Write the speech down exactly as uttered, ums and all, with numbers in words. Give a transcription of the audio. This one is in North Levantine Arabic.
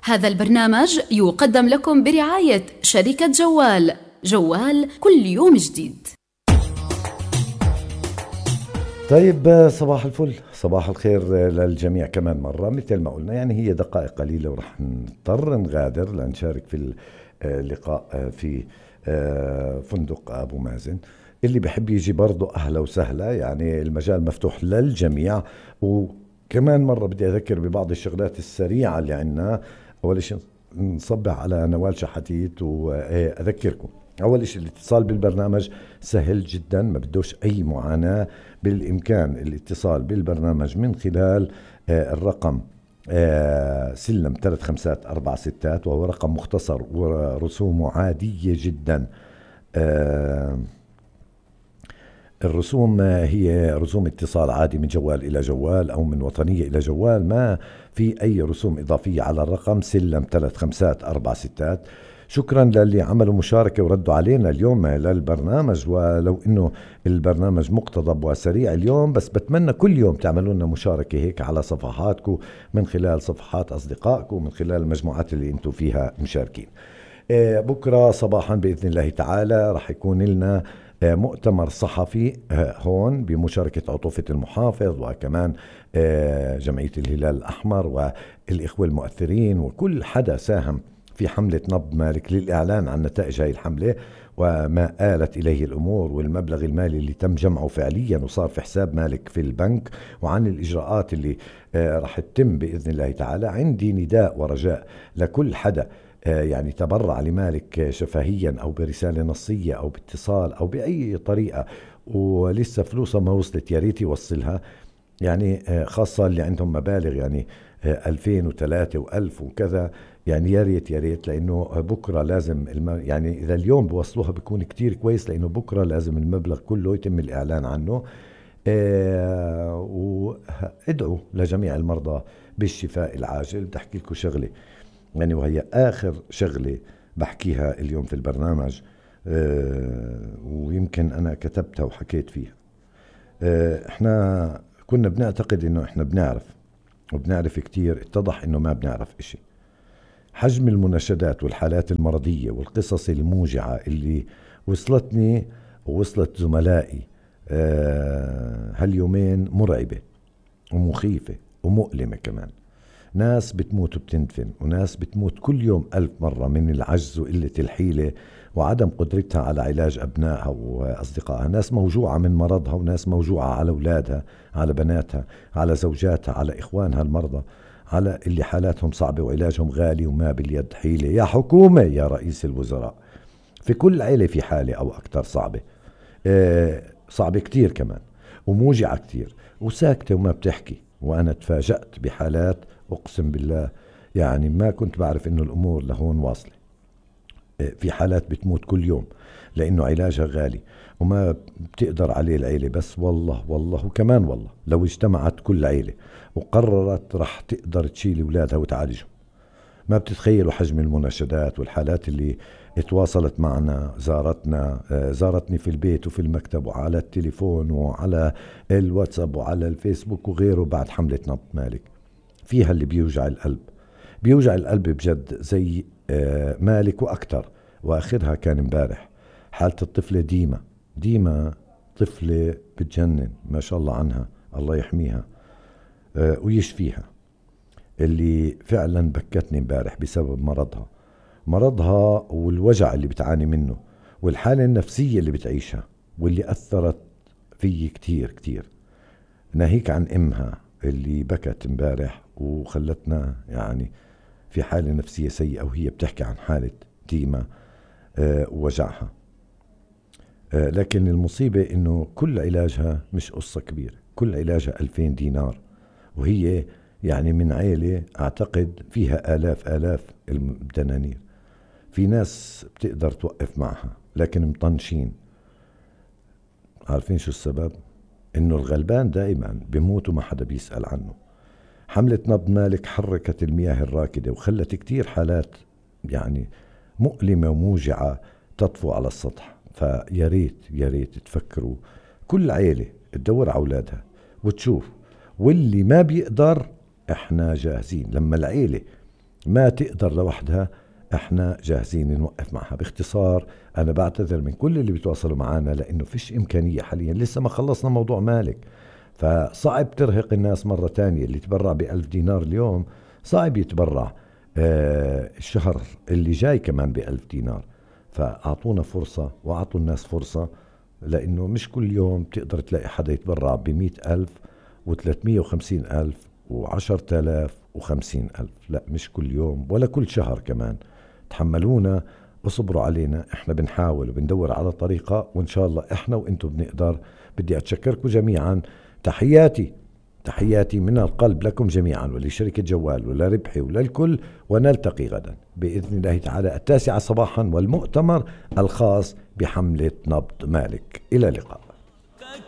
هذا البرنامج يقدم لكم برعاية شركة جوال. جوال كل يوم جديد. طيب، صباح الفل، صباح الخير للجميع كمان مرة. مثل ما قلنا يعني هي دقائق قليلة ورح نضطر نغادر لنشارك في اللقاء في فندق أبو مازن. اللي بحب يجي برضو أهلا وسهلا، يعني المجال مفتوح للجميع. وكمان مرة بدي أذكر ببعض الشغلات السريعة اللي عنا. أول شيء نصبح على نوال شحاتيت وأذكركم أول شيء الاتصال بالبرنامج سهل جدا، ما بدوش أي معاناة. بالإمكان الاتصال بالبرنامج من خلال الرقم سلم ثلاث خمسات أربع ستات، وهو رقم مختصر ورسومه عادية جدا. الرسوم هي رسوم اتصال عادي من جوال إلى جوال أو من وطنية إلى جوال، ما في أي رسوم إضافية على الرقم سلم ثلاث خمسات أربع ستات. شكرا للي عملوا مشاركة وردوا علينا اليوم للبرنامج، ولو إنه البرنامج مقتضب وسريع اليوم، بس بتمنى كل يوم تعملوا لنا مشاركة هيك على صفحاتكم، من خلال صفحات أصدقائكم، من خلال المجموعات اللي انتم فيها مشاركين. بكرة صباحا بإذن الله تعالى رح يكون لنا مؤتمر صحفي هون بمشاركة عطوفة المحافظ، وكمان جمعية الهلال الأحمر والإخوة المؤثرين وكل حدا ساهم في حملة نبض مالك للإعلان عن نتائج هاي الحملة وما آلت إليه الأمور، والمبلغ المالي اللي تم جمعه فعليا وصار في حساب مالك في البنك، وعن الإجراءات اللي رح تتم بإذن الله تعالى. عندي نداء ورجاء لكل حدا يعني تبرع لمالك شفهيا أو برسالة نصية أو باتصال أو بأي طريقة ولسه فلوسها ما وصلت، يا ريت يوصلها. يعني خاصة اللي عندهم مبالغ يعني ألفين وثلاثة وألف وكذا، يعني يا ريت يا ريت، لأنه بكرة لازم الم... يعني إذا اليوم بوصلوها بيكون كتير كويس، لأنه بكرة لازم المبلغ كله يتم الإعلان عنه. آه وادعوا لجميع المرضى بالشفاء العاجل. بدي أحكي لكم شغلة يعني، وهي آخر شغلة بحكيها اليوم في البرنامج، آه ويمكن أنا كتبتها وحكيت فيها. آه احنا كنا بنعتقد إنه احنا بنعرف وبنعرف كتير، اتضح إنه ما بنعرف إشي. حجم المناشدات والحالات المرضية والقصص الموجعة اللي وصلتني ووصلت زملائي آه هاليومين مرعبة ومخيفة ومؤلمة كمان. ناس بتموت وبتندفن، وناس بتموت كل يوم ألف مرة من العجز وقلة الحيلة وعدم قدرتها على علاج أبنائها وأصدقائها. ناس موجوعة من مرضها، وناس موجوعة على أولادها، على بناتها، على زوجاتها، على إخوانها المرضى، على اللي حالاتهم صعبة وعلاجهم غالي وما باليد حيلة. يا حكومة، يا رئيس الوزراء، في كل عيلة في حالة أو أكتر صعبة، آه صعبة كتير كمان وموجعة كتير وساكتة وما بتحكي. وأنا تفاجأت بحالات أقسم بالله يعني ما كنت بعرف إنه الأمور لهون واصلة. آه في حالات بتموت كل يوم لأنه علاجها غالي وما بتقدر عليه العيلة. بس والله والله وكمان والله لو اجتمعت كل عيلة وقررت رح تقدر تشيل أولادها وتعالجهم. ما بتتخيلوا حجم المناشدات والحالات اللي اتواصلت معنا، زارتنا، زارتني في البيت وفي المكتب وعلى التليفون وعلى الواتساب وعلى الفيسبوك وغيره بعد حملة نبض مالك. فيها اللي بيوجع القلب، بيوجع القلب بجد زي مالك وأكتر. وآخرها كان امبارح حالة الطفلة ديما. ديما طفلة بتجنن ما شاء الله عنها، الله يحميها ويشفيها، اللي فعلا بكتني امبارح بسبب مرضها مرضها والوجع اللي بتعاني منه والحالة النفسية اللي بتعيشها، واللي أثرت في كتير كتير. ناهيك عن إمها اللي بكت امبارح وخلتنا يعني في حالة نفسية سيئة، وهي بتحكي عن حالة ديما آه ووجعها. آه لكن المصيبة إنه كل علاجها مش قصة كبيرة، كل علاجها ألفين دينار، وهي يعني من عيلة أعتقد فيها آلاف آلاف الدنانير. في ناس بتقدر توقف معها لكن مطنشين. عارفين شو السبب؟ إنه الغلبان دائما بيموت وما حدا بيسأل عنه. حملة نبض مالك حركت المياه الراكدة وخلت كتير حالات يعني مؤلمة وموجعة تطفو على السطح. فيا ريت يا ريت تفكروا كل عيلة تدور على أولادها وتشوف، واللي ما بيقدر احنا جاهزين. لما العيلة ما تقدر لوحدها، احنا جاهزين نوقف معها. باختصار انا بعتذر من كل اللي بيتواصلوا معنا لانه فيش امكانية حاليا، لسه ما خلصنا موضوع مالك، فصعب ترهق الناس مرة تانية. اللي تبرع بألف دينار اليوم صعب يتبرع آه الشهر اللي جاي كمان بألف دينار. فأعطونا فرصة وأعطوا الناس فرصة، لأنه مش كل يوم تقدر تلاقي حدا يتبرع بمئة ألف وثلاثمية وخمسين ألف وعشرة آلاف وخمسين ألف، لا مش كل يوم ولا كل شهر كمان. تحملونا وصبروا علينا، احنا بنحاول وبندور على طريقة، وإن شاء الله احنا وإنتم بنقدر. بدي أتشكركم جميعا. تحياتي تحياتي من القلب لكم جميعا ولشركة جوال ولربحي وللكل، ونلتقي غدا بإذن الله تعالى التاسعة صباحا والمؤتمر الخاص بحملة نبض مالك. إلى اللقاء.